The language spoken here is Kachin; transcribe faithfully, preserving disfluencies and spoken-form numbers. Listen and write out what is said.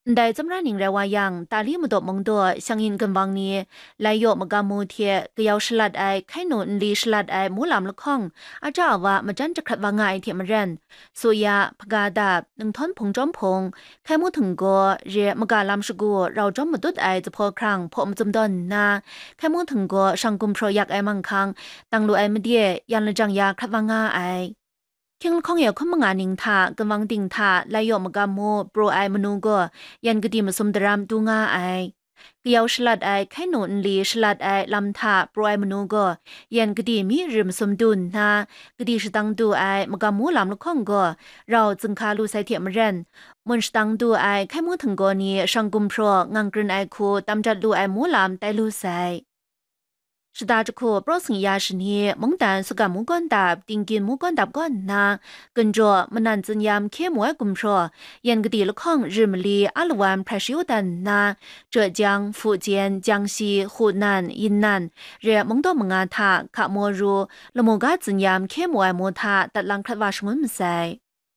Ndai tsawmra ning rai wa yang, Tali Madaw Mungdaw shang-yin ginwang ni lai yaw magam mu hte kayau shalat ai, hkai nu nli shalat ai mu lam lahkawng, aja awa majan jahkrat wa nga ai hte maren, Suya, Hpaga Dap, Ninghtawn Hpung Chyawm Hpung, Hkai Mu Htinggaw, re maga lam shagu rau jawm madut ai zuphpawr hkrang hpaw macum dawn nna, Hkai Mu Htinggaw shang gumhpraw yak ai manghkang, dang lu ai made yan lajang ya hkrat wa nga ai. Hkying lahkawng e hkun manga ning hta, ginwang ting hta, lai yaw magam mu, praw ai manu gaw, yan kadi masum daram du nga ai. Kayau shalat ai, hkai nu nli shalat ai lam hta praw ai manu gaw, yan kadi mi rim sum du nna, kadi shadang du ai magam mu lam lahkawng gaw, rau zunghka lu sai hte maren, mun shadang du ai hkai mu htinggaw ni shang gumhpraw ngang krin ai hku tam jat lu ai mu lam tai lu sai. Shada jahku praw singya shani, mungdan Sugam Mungkawn Dap, Tingkyin Mungkawn Dap kaw nna, Ginjaw, Manan Tsinyam hkye mu ai gumhpraw, yan kadi lahkawng rim mali a lawan hprai shayu dan nna, Jawjang, Fujian, Jiangxi, Hunan, Yinnan, re mungdaw manga hta, Hka Moru, lamu ga tsinyam hkye mu ai mu hta datlang hkrat wa shangun masai.